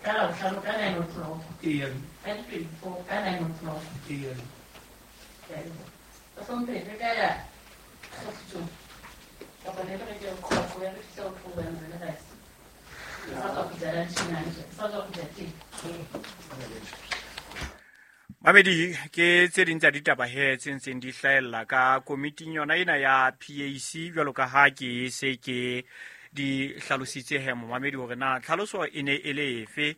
Ka Labohlano ka 9 o'clock. Eya. Ka di-24 ka 9 o'clock. Eya. Ke a leboha. Mohlomphehi, re ka ya kgefutso kapa ne re ke qhoqo ya re fihla ho theohela re le rice. Ke sa tswa kgutla lunch-eng hantle. Ke sa tswa kgutla teng. Mamedi, ke tse ding tsa ditaba he tse ntseng di hlahella ka komiting yona ena ya PAC, jwalo ka ha ke se ke di hlalositse he, momamedi, hore na tlhaloso e ne e le efe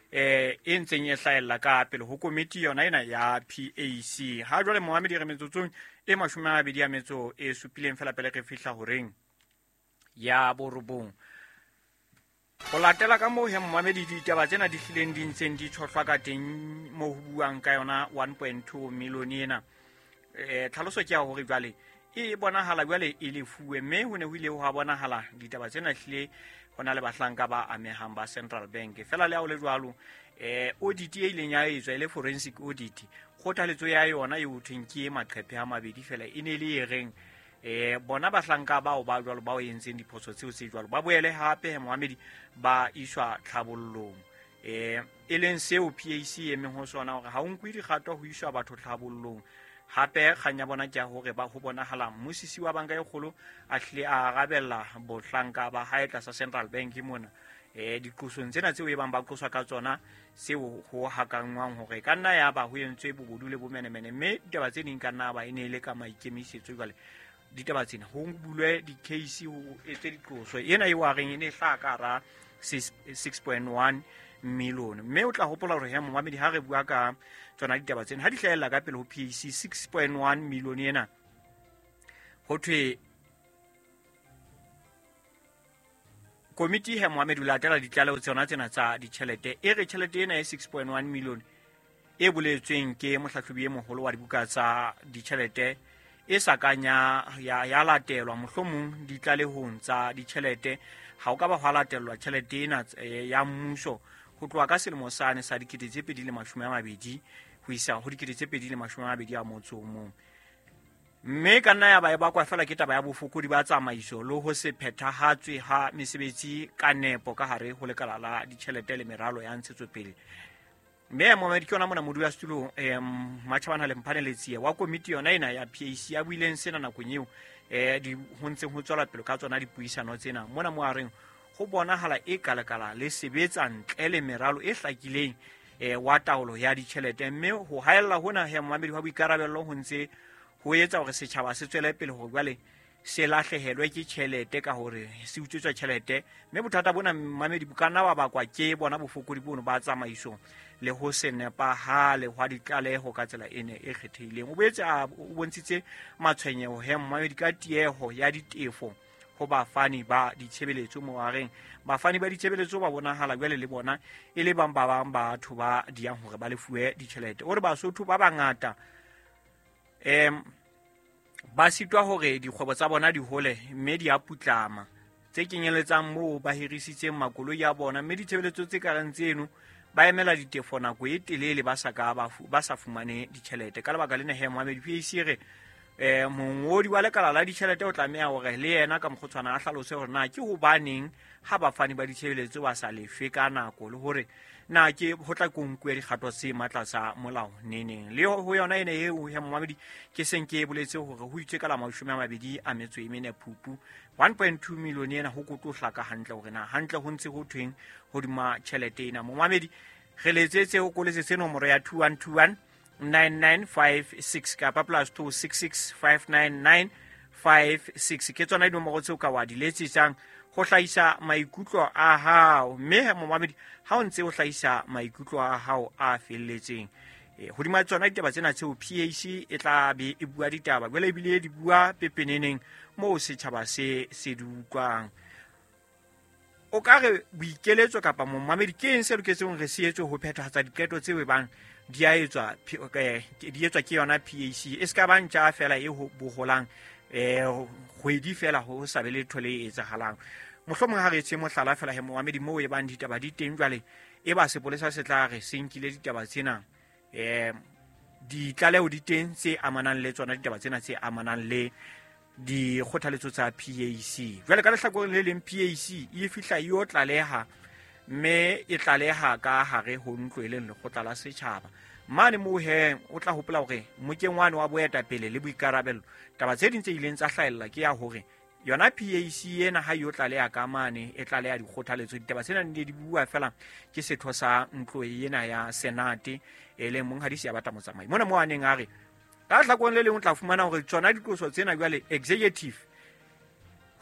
e ntseng e hlahella ka pele ho komiti yona ena ya PAC. Ha jwale, momamedi, re metsotsong e 27 fela pele re fihla horeng ya 9. Ho latela ka moo he, momamedi, ditaba tsena di hlileng di ntseng di tshohlwa ka teng moo ho buang ka yona 1.2 million ena, tlhaloso ke ya hore jwale e bonahala jwale e lefuwe, mme ho ne ho ile ho bonahala ditaba tsena hlile ho na le bahlanka ba amehang ba Central Bank. Fela le ha ho le jwalo, audit e ileng ya etswa e le forensic audit, kgothaletso ya yona e ho thweng ke maqephe a mabedi fela, e ne e le e reng bona bahlanka bao ba jwalo bao entseng diphoso tseo tse jwalo ba boele hape, moamedi, ba iswa tlhabollong, e leng seo PAC e emeng ho sona, hore ha o nkwe dikgato ho iswa batho tlhabollong. Hape kgang ya bona ke ya hore ba ho bonahala mmusisi wa banka e kgolo a hlile a arabella bohlanka ba hae tlasa Central Bank mona diqosong tsena tseo e bang ba qoswa ka tsona, seo ho hakangwang hore ka nna ya ba ho entswe bobodu le bomenemene, mme ditaba tse ding ka nna ba e ne e le ka maikemisetso. Jwale ditaba tsena ho bulwe di-case, ho etswe diqoso ena eo a reng e ne e hlaha ka hara 6.1 million. Mme o tla hopola hore he, momamedi, ha re bua ka tsona ditaba tsena ha di hlahella ka pele ho PAC, 6.1 million ena ho thwe komiti he, moamedi, o latela ditlaleho tsona tsena tsa ditjhelete, e re tjhelete ena e 6.1 million e boletsweng ke mohlahlobi e moholo wa dibuka tsa ditjhelete e sa kang ya latelwa mohlomong ditlalehong tsa ditjhelete. Ha o ka ba hwa latellwa tjhelete ena ya mmuso ho tloha ka selemo sane sa 2020 ho isa ho 2021, mme ka nna ya ba e bakwa fela ke taba ya bofokodi ba tsamaiso le ho se phethahatswe ha mesebetsi ka nepo ka hare ho lekala la ditjhelete le meralo ya ntshetsopele. Mme momedi, ke yona mona modulasetulo Matjhabana Lemphane Letsie wa komiti yona ena ya PAC a buileng sena nakong eo ho ntseng ho tswela pele ka tsona dipuisano tsena mona, mo a reng ho bonahala e kalakala le sebetsa ntle le meralo e hlakileng wa taolo ya ditjhelete, mme ho haella hona he, momamedi, wa boikarabello ho ntse ho etsa hore setjhaba se tswele pele hore jwale se lahlehelwe ke tjhelete ka hore se utswetswa tjhelete. Mme bothata bona, mamedi, bo ka nna ba bakwa ke bona bofokodi bono ba tsamaiso le ho se nepahale hwa ditlaleho ka tsela ene e kgethehileng. O boetse a o bontshitse matshwenyeho he, mamedi, ka tieho ya ditefo ho bafani ba ditshebeletso, mo a reng bafani ba ditshebeletso ba bonahala jwale le bona e le bang ba bang batho ba diyang hore ba lefuwe ditjhelete. O re Basotho ba bangata ba sitwa hore dikgwebo tsa bona di hole mme di a putlama, tse kenyeletsang moo ba hirisitseng makoloi a bona, mme ditshebeletso tse kareng tseno ba emela ditefo nako e telele ba sa ka ba sa fumane ditjhelete. Ka lebaka lena he, moamedi, PAC re mongodi wa lekala la ditjhelete o tlameha hore le yena ka mokgotshwana a hlalose hore na ke hobaneng ha bafani ba ditshebeletso ba sa lefe ka nako, le hore na ke ho tla ko nkuwe dikgato tse matla tsa molao neneng. Le ho yona ene eo he, momamedi, ke seng ke boletse hore ho itswe ka la 24 Phupu 1.2 million ena ho kotlo hlaka hantle hore na hantle ho ntse ho thweng hodima tjhelete ena. Momamedi, re letsetse ho koletsetse nomoro ya 2121 9956 kapa +266 599 56. Ke tsona dinomoro tseo ka wa di letsetsang ho hlahisa maikutlo a hao. Mme momamedi, ha o ntse o hlahisa maikutlo a hao a felletseng hodima tsona ditaba tsena tseo PAC e tla be e bua ditaba jwale ebile di bua pepeneneng moo setjhaba se se di utlwang, o ka re boikeletso kapa, momamedi, ke eng se loketseng re se etswe ho phethahatsa diqeto tseo e bang di a etswa di etswa ke yona PAC, e se ka ba ntja fela e boholang kgwedi fela ho sa be letho le etsahalang? Mohlomong ha re etse mohlala fela he, momamedi, moo e bang ditaba di teng jwale e ba sepolesa se tla re se nkile ditaba tsena, ditlaleho di teng tse amanang le tsona ditaba tsena tse amanang le dikgothaletso tsa PAC. Jwale ka lehlakoreng le leng PAC e fihla e yo tlaleha Mme e tlaleha ka hare ho ntlo e leng lekgotla la setjhaba. Mane moo he o tla hopola hore mokeng wane wa boetapele le boikarabello, taba tse ding tse ileng tsa hlahella ke ya hore yona PAC ena ha yo tlaleha ka mane e tlaleha dikgothaletso. Ditaba tsena di ne di bua fela ke setho sa ntlo ena ya Senate e leng monghadi Seabata Motsamai. Mona moo a neng a re ka hlakoreng le leng o tla fumana hore tsona diqoso tsena jwale executive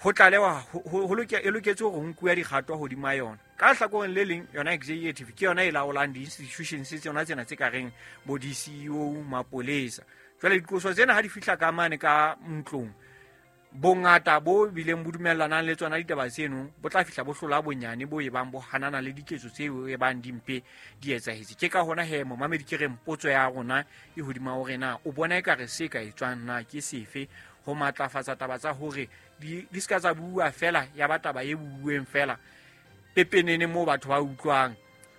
ho tlalewa e loketse hore ho nkuwe dikgato hodima yona. Ka hlakoreng le leng yona executive ke yona e laolang di-institutions tsona tsena tse ka reng bo di-CEO, mapolesa. Jwale diqoso tsena ha di fihla ka mane ka ntlong, bongata bo bileng bo dumellanang le tsona ditaba tseno bo tla fihla bo hlola bonyane bo e bang bo hanana le diketso tseo e bang dimpe di etsahetse. Ke ka hona he momamedi ke reng potso ya rona e hodima hore na o bona ekare se ka etswang na ke sefe ho matlafatsa taba tsa hore di ska tsa bua fela ya ba taba e buuweng fela pepenene moo batho ba utlwang,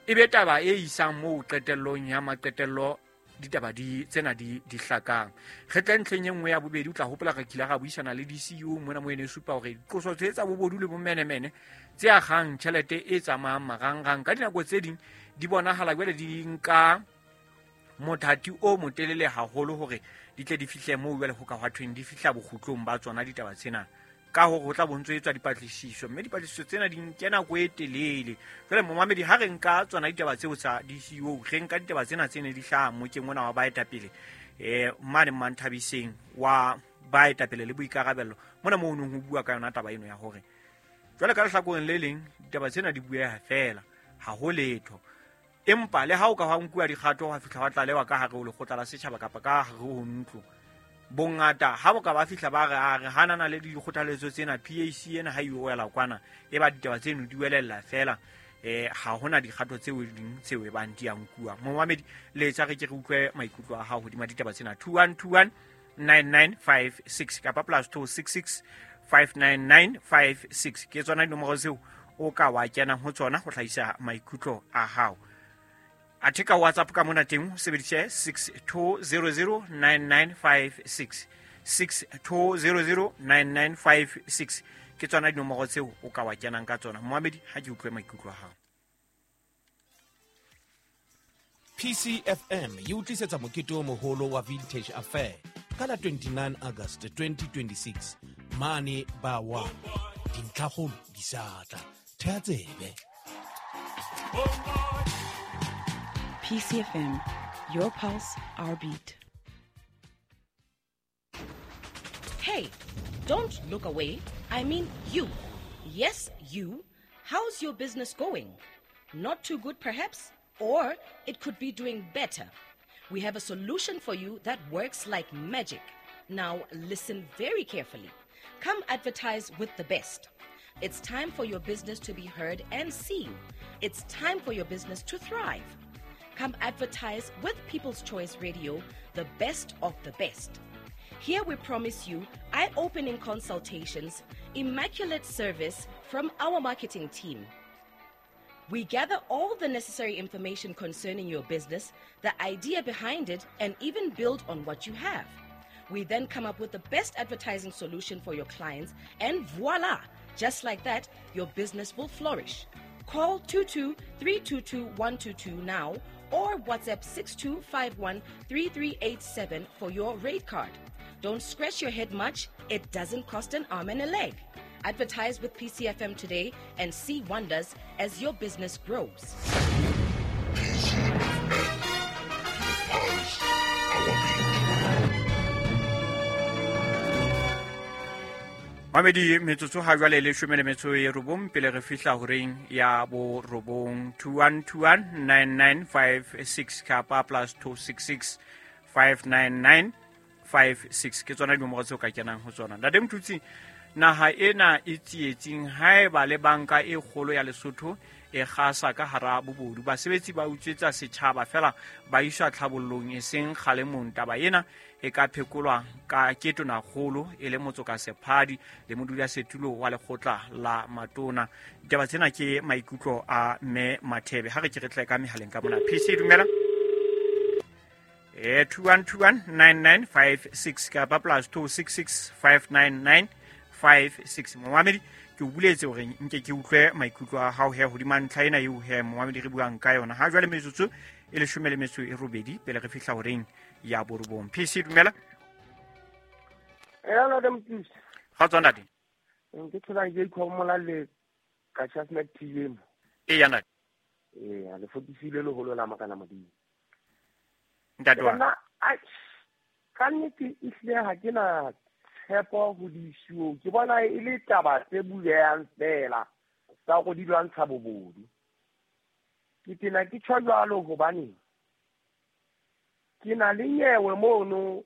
e be taba e isang moo qetellong ya maqetello ditaba di tsena di hlakang. Re tle ntlheng e nngwe ya bobedi, o tla hopola re kile ra buisana le DCU mona mo ene supa hore diqoso tse tsa bobodu le bomenemene tse akgang tjhelete e tsamayang marangrang ka dinako tse ding di bonahala jwale di nka mothati o motelele haholo hore di tle di fihle moo jwale ho ka hwa thweng di fihla bokgutlong ba tsona ditaba tsena, ka hore ho tla bontso etswa dipatlisiso, mme dipatlisiso tsena di nke nako e telele. Jwale momamedi ha re nka tsona ditaba tseo tsa DCU, re nka ditaba tsena tse ne di hlaha mokeng ona wa baetapele mane Manthabiseng wa baetapele le boikarabello, mona moo nong ho bua ka yona taba eno ya hore jwale ka lehlakoreng le leng ditaba tsena di bueha fela, ha ho letho. Empa le ha o ka hwa nkuwa dikgato wa fihla wa tlalewa ka hare ho lekgotla la setjhaba kapa ka hare ho ntlo, bongata ha bo ka ba fihla ba re a re hanana le dikgothaletso tsena, PAC ena ha e wela kwana e ba ditaba tseno di welella fela, ha hona dikgato tseo ding tseo e bang di a nkuwa. Momamedi letsa re ke re utlwe maikutlo a hao hodima ditaba tsena 2121 9956 kapa +266 59956 ke tsona dinomoro tseo o ka wa kenang ho tsona ho hlahisa maikutlo a hao. Athe ka WhatsApp ka mona teng o sebedise 62009956 62009956 ke tsona dinomoro tseo o ka wa kenang ka tsona. Momamedi ha ke utlwe maikutlo a hao. PCFM e utlisetsa mokete o moholo wa Vintage Affair ka la 29 August 2026 mane ba wa dintlhakgolo di sa tla. Thea tsebe. PCFM, your pulse, our beat. Hey, don't look away. I mean you. Yes, you. How's your business going? Not too good, perhaps? Or it could be doing better. We have a solution for you that works like magic. Now, listen very carefully. Come advertise with the best. It's time for your business to be heard and seen. It's time for your business to thrive. Come advertise with People's Choice Radio, the best of the best. Here we promise you eye-opening consultations, immaculate service from our marketing team. We gather all the necessary information concerning your business, the idea behind it, and even build on what you have. We then come up with the best advertising solution for your clients, and voila! Just like that, your business will flourish. Call 22-322-122 now or WhatsApp 6251-3387 for your rate card. Don't scratch your head much. It doesn't cost an arm and a leg. Advertise with PCFM today and see wonders as your business grows. PCFM, pulse, our beat. Mamedi metsotso ha jwale le 19 pele re fihla horeng ya bo 9 21219956 kapa +266 59956 ke tsona dinomoro tseo ka kenang ho tsona. Ntate Mthutsi, naha ena e tsietsing haeba le banka e kgolo ya Lesotho e kgasa ka hara bobodu, basebetsi ba utswetsa setjhaba fela ba iswa tlhabollong e seng kgalemong. Taba ena e ka phekolwa ka ke tonakgolo e le Motsoka Sephadi le modulasetulo wa lekgotla la matona. Ditaba tsena ke maikutlo a mme Mathebe. Ha re ke re tle ka mehaleng ka mona. PC dumela. 21219956 kapa +266 59956. Momamedi Ke o buletse hore nke ke utlwe maikutlo a hao he hodima ntlha ena eo he momamedi re buang ka yona. Ha jwale metsotso e 18 pele re fihla horeng ya 9. PC dumela. Hello Mtisi. Kgotso ntate. Ke thola ke ikhomola le ka Chasmet TV. Eya ntate. Eya, le fotisile leholo la makana Modimo. Ntate wa. Ka nnete ehlile ha ke na tshepo ho diisuo. Ke bona e le taba tse bulehang fela tsa go di lwantsha bobodu. Ke tena ke tjho jwalo hobane ke na le nyewe mono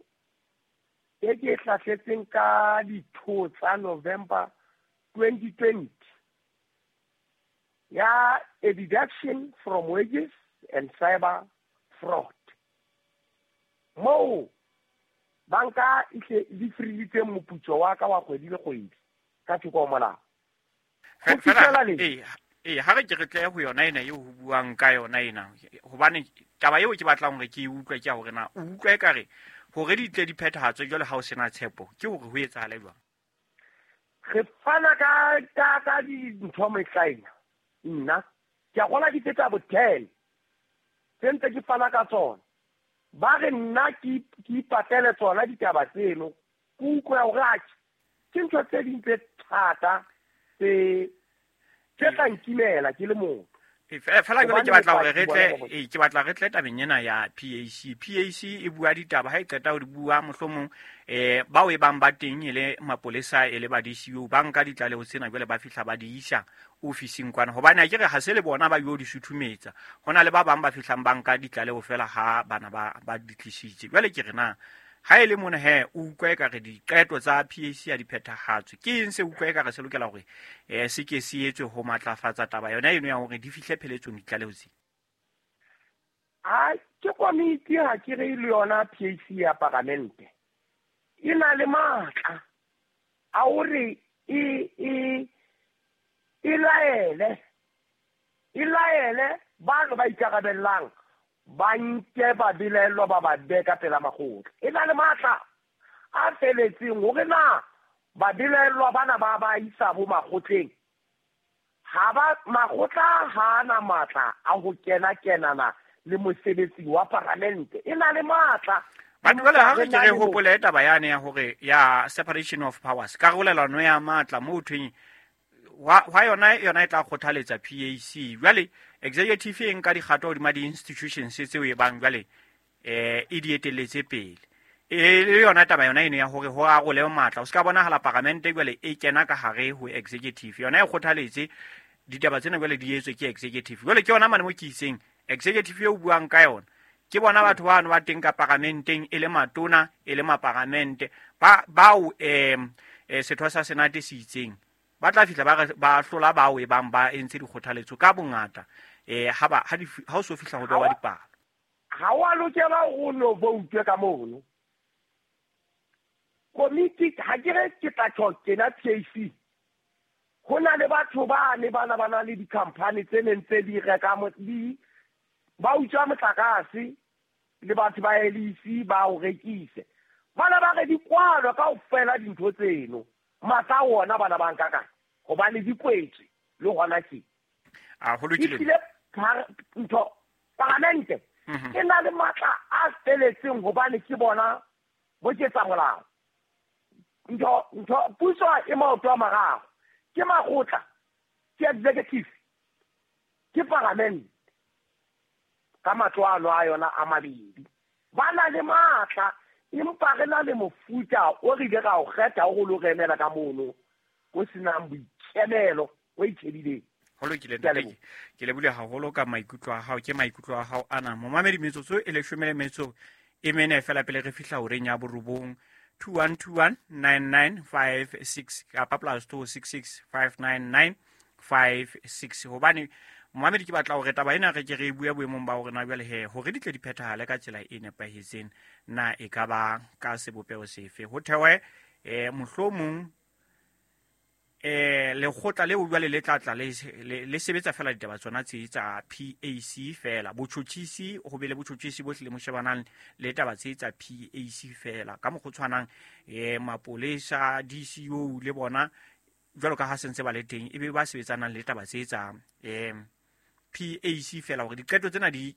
e ke hlahletseng ka ditho tsa November 2020 ya a deduction from wages and cyber fraud. Moo banka e hle di freelitse moputso wa ka wa kgwedi le kgwedi ka thoko ho molao. Ho fihlela le ha re ke re tle ho yona ena eo ho buang ka yona ena, hobane taba eo ke batlang hore ke e utlwe ke ya hore na o utlwa ekare hore di tle di phethahatswe jwale ha o sena tshepo ke hore ho etsahale jwang. Re fana ka dintho mehlaena. Nna ke a gola di feta bo 10 tse ntse ke fana ka tsona. Ba re nna ke ipatele tsona ditaba tseno. Ke utlwa hore atjhe ke ntho tse ding tse thata tse tla nkimela ke le motho. Fela jwale ke batla hore re tle ke batla re tle tabeng ena ya PAC. PAC e bua ditaba ha e qeta ho di bua mohlomong bao e bang ba teng e le mapolesa e le ba DCU ba nka ditlaleho tsena jwale ba fihla ba di isa ofising kwana, hobane a ke re ha se le bona ba yo di suthumetsa, hona le ba bang ba fihlang ba nka ditlaleho fela ha bana ba di tlisitse. Jwale ke re na ha e le mona he o utlwa ekare diqeto tsa PAC ya di phethahatswe, ke eng se utlwa ekare se lokela hore se ke se etswe ho matlafatsa taba yona eno ya hore di fihle pheletsong ditlaleho tse? A ke komiti ha ke re le yona PAC ya paramente e na le matla a hore e laele bano ba ikarabellang ba nke ba belaellwa ba ba beka pela makgotla. E na le matla a feletseng hore na ba belaellwa bana ba ba isa bo makgotleng. Ha ba makgotla ha na matla a ho kena kenana le mosebetsi wa paramente. E na le matla. Batho jwale ha re ke re hopole taba yane ya hore ya separation of powers, karolelano ya matla mo thweng wa yona e tla kgothaletsa PAC. Jwale executive e nka dikgato hodima di-institutions tseo e bang jwale e di etelletse pele. E le yona taba yona eno ya hore ho arole matla, o se ka bonahala paramente jwale e kena ka hare ho executive, yona e kgothaletse ditaba tsena jwale di etswe ke executive. Jwale ke yona mane mo ke itseng executive eo buang ka yona ke bona batho bano ba teng ka paramenteng e le matona e le maparamente ba bao setho sa senate se itseng ba tla fihla ba hlola bao e bang ba entse dikgothaletso ka bongata ha o so fihla ho bewa dipalo. Ha wa lokela ho no vote ka mono. Komiti ha ke re ke tla tjho kena PAC. Ho na le batho ba ne bana ba na le di-company tse neng tse di reka di ba utswa motlakase le batho ba LEC ba o rekise. Bana ba re di kwalwa kaofela dintho tseno. Matla wona bana ba nka kae hobane di kwetswe le hona ke. A ho lokile. Ntho paramente e na le matla a feletseng hobane ke bona bo ketsa molao. Ntho puso e maoto a mararo. Ke makgotla, ke executive, ke paramente ka matlwalo a yona a mabedi. Ba na le matla empa re na le mofuta o re ile ra o kgetha o lo re emela ka mono o senang boikemelo o itjhebileng. Ho lokile ntate, ke lebule haholo ka maikutlo a hao. Ke maikutlo a hao ana momamedi metsotso e 14 fela pele re fihla horeng ya 9. 2121 9956 kapa +266 599 56. Hobane momamedi ke batla hore taba ena re ke re bue boemong ba hore na jwale he hore di tle di phethahale ka tsela e nepahetseng na e ka ba ka sebopeho sefe. Ho thewe mohlomong lekgotla leo jwale le tla tla le sebetsa fela ditaba tsona tse tsa PAC fela, botjhotjhisi ho be le botjhotjhisi bohle le moshebanang le taba tse tsa PAC fela ka mokgwa o tshwanang mapolesa DCO le bona jwalo ka ha sentse ba le teng e be ba sebetsanang le taba tse tsa PAC fela hore diqeto tsena di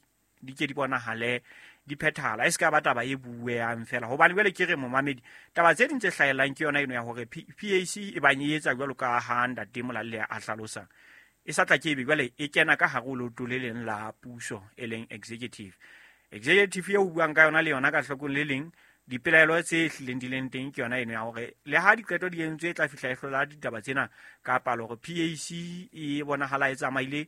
ke di bonahale di phethahala e se ka ba taba e bueang fela hobane jwale ke re momamedi taba tse ding tse hlahellang ke yona eno ya hore PAC e bang e etsa jwalo ka ha ntate Molalle a hlalosa e sa tla ke ebe jwale e kena ka hare ho leoto le leng la puso e leng executive eo buang ka yona le yona ka hlokong le leng dipelaelo tse hlileng di leng teng ke yona eno ya hore le ha diqeto di entswe e tla fihla e hlola ditaba tsena ka palo hore PAC e bonahala e tsamaile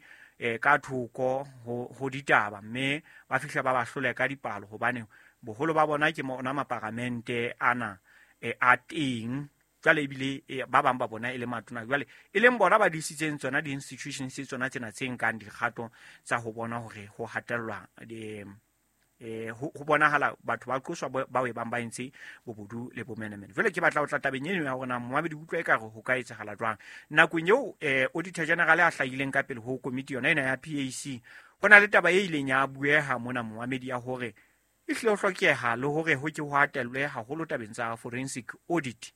ka thoko ho ditaba mme ba fihla ba ba hlole ka dipalo hobane boholo ba bona ke ona maparamente ana a teng jwale ebile ba bang ba bona e le matona jwale e leng bona ba disitseng tsona di-institutions tsona tsena tse nkang dikgato tsa ho bona hore ho hatellwa ho bonahala batho ba qoswa ba e bang ba entse bobodu le bomenemene. Jwale ke batla ho tla tabeng eno ya hore na momamedi utlwa ekare ho ka etsahala jwang nakong eo Auditor General a hlahileng ka pele ho komiti yona ena ya PAC ho na le taba e ileng ya bueha mona momamedi ya hore e hlile ho hlokeha le hore ho ke ho hatellwe haholo tabeng tsa forensic audit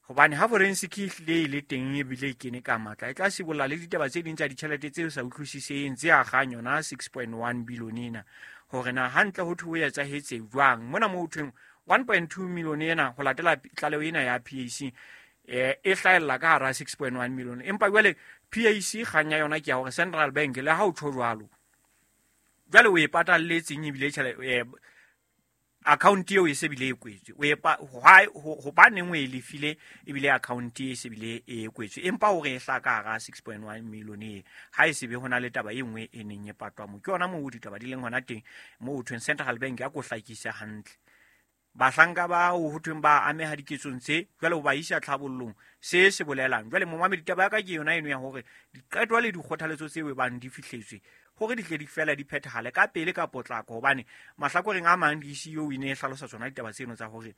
hobane ha forensic e hlile e le teng ebile e kene ka matla e tla sibolla le ditaba tse ding tsa ditjhelete tseo sa utlwisiseng tse akgang yona 6.1 billion ena hore na hantle ho thwe ho etsahetse jwang mona mo ho thweng 1.2 million ena ho latela tlaleho ena ya PAC e hlahella ka hara 6.1 million empa jwale PAC kgang ya yona ke ya hore Central Bank le ha o tjho jwalo jwale o e patalletseng ebile tjhelete account eo e se bile e kwetswe o epa hobaneng o e lefile ebile account e se bile e kwetswe empa hore e hla ka hara 6.1 million e ha e se be hona le taba e nngwe e neng e patwa mo ke yona moo ditaba di leng hona teng moo ho thweng Central Bank ya ko hlakisa hantle bahlanka ba ho thweng ba ameha diketsong tse jwale ho ba isa tlhabollong se se bolelang jwale momamedi taba ya ka ke yona eno ya hore diqeto le dikgothaletso tseo e bang di fihletswe hore di tle di fela di phethahale ka pele ka potlako hobane mahlakoreng a mang di-CEO e ne e hlalosa tsona ditaba tseno tsa hore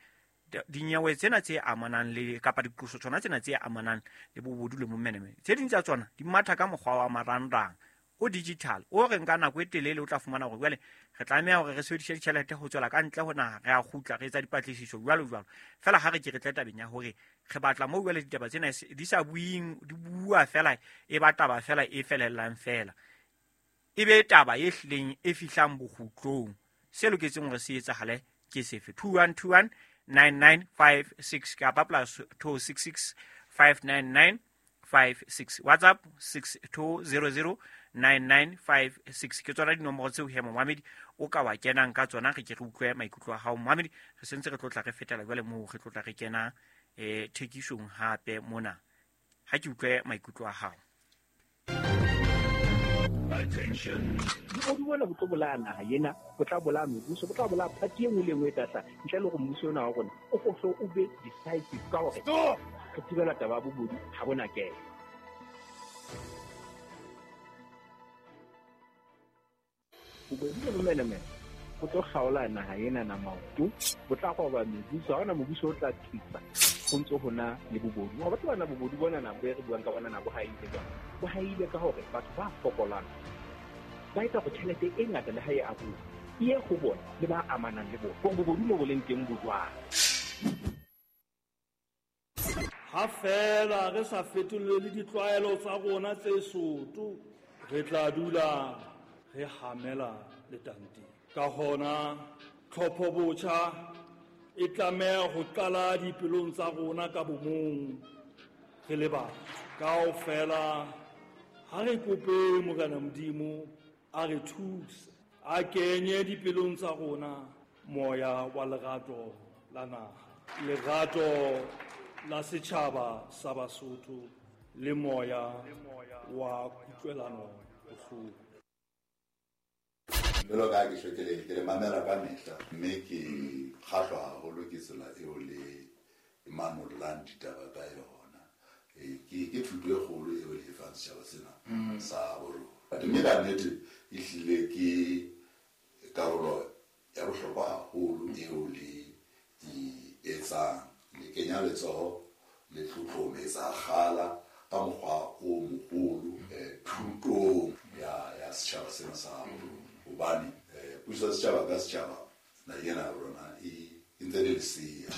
dinyewe tsena tse amanang le kapa diqoso tsona tsena tse amanang le bobodu le momenemene tse ding tsa tsona di matha ka mokgwa wa marangrang o digital o re nka nako e telele o tla fumana hore jwale re tlameha hore re sebedise ditjhelete ho tswela ka ntle ho naha re a kgutla re etsa dipatlisiso jwalo jwalo fela ha re ke re tle tabeng ya hore re batla moo jwale ditaba tsena di sa buing di bua fela e ba taba fela e felellang fela e be taba e hlileng e fihlang bokgutlong se loketseng hore se etsahale ke sefe 2121 9956 kapa plus 266 599 56 WhatsApp 6200 9956 ke tsona dinomoro tseo he momamedi o ka wa kenang ka tsona re ke re utlwe maikutlo a hao momamedi re sentse re tlotla re fetela jwale moo re tlotla re kena thekisong hape mona ha ke utlwe maikutlo a hao. Bobodu bona bo tlo bolaya naha ena, bo tla bolaya mebuso, bo tla bolaya party e nngwe le nngwe e tla ntle le hore mmuso ona wa rona o fohle o be decisive ka hore re thibela taba ya bobodu ha bona kena. Bobodu le bomenemene bo tlo kgaola naha ena na maoto, bo tla roba mebuso, ha hona mobuso o tla thusa ho ntso hona le bobodu. Wa batho bana bobodu bona na bo re buang ka bona na bo haile jwang? Bo haile ka hore batho ba fokolang ba etsa hore tjhelete e ngata le ha e abuwa e ye ho bona le ba amanang le bona. Hore bobodu mo bo leng teng bo jwang? Ha fela re sa fetolele ditlwaelo tsa rona tse soto, re tla dula re hamela letanteng. Ka hona tlhopho botjha e tlameha ho qala dipelong tsa rona ka bomong re le batho. Kaofela ha re kope Morena Modimo a re thuse, a kenye dipelong tsa rona moya wa lerato la naha, lerato la setjhaba sa Basotho le moya wa kutlwelano bohloko. Jwalo ka ha ke hlwekile ke le mamela ka mehla mme ke kgahlwa haholo ke tsela eo le manollang ditaba ka yona. Ke thuto e kgolo eo le e fang setjhaba sena sa borona. Mme ka nnete e hlile ke karolo ya bohlokwa haholo eo le e etsang. Le kenya letsoho le tlotlometsa kgala ka mokgwa o moholo thutong ya setjhaba sena sa borona. Hobane puso ya setjhaba ka setjhaba naheng ena ya rona e ntse le lesea.